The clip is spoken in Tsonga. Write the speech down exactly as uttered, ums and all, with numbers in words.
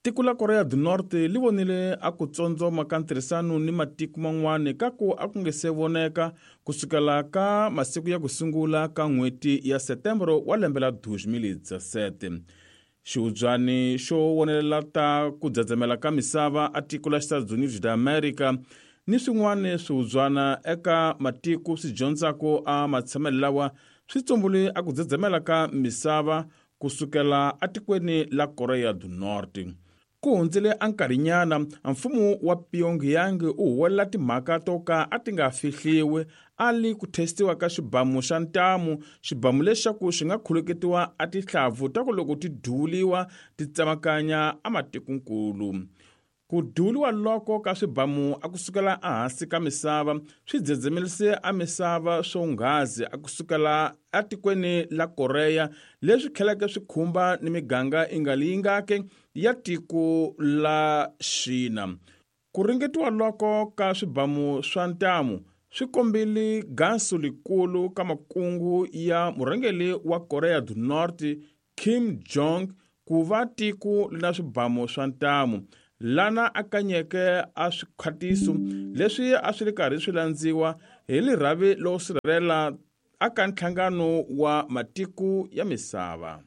Tiko la Korea du Norte li vonile a ku tsondzoma ka ntirhisano ni matiko man'wana ka ku a ku nge se voneka kusukela ka masiku ya ku sungula ka n'hweti ya Setembro wa lembe la two thousand seventeen. Xihubyani xo vonelela ta ku dzedzemela ka misava a tiko la Estados Unidos da America ni swin'wana swihubyana eka matiko swi dyondzaka a matshamelo lawa swi tsumbule a ku dzedzemela ka misava kusukela atikweni la Korea du Norte. Ku hundzile a nkarhinyana mfumo wa Pyongyang u huwelela timhaka to ka a ti nga fihliwi a li ku testiwa ka xibamu xa ntamu, xibamu lexaku xi nga khuluketiwa a tihlavu ta ku loko ti duvuliwa ti tsemakanya a matikonkulu. Ku duvuliwa loko ka swibamu a kusukela ehansi ka misava swi dzedzemerise a misava swonghazi a kusukela atikweni la Korea, leswi tlheleke swi khumba ni miganga inga leyi ngake ya tiko la Xina. Ku ringetiwa loko ka swibamu swa ntamu swi kombile gansu likulu ka makungu ya murhangeri wa Korea du Norte Kim Jong ku va tiko na swibamu swa ntamu, lana a kanyeke a swikhwatiso leswi a swi ri karhi swi landziwa hi lirhavi lo sirhelela aka nhlangano wa matiko ya misava.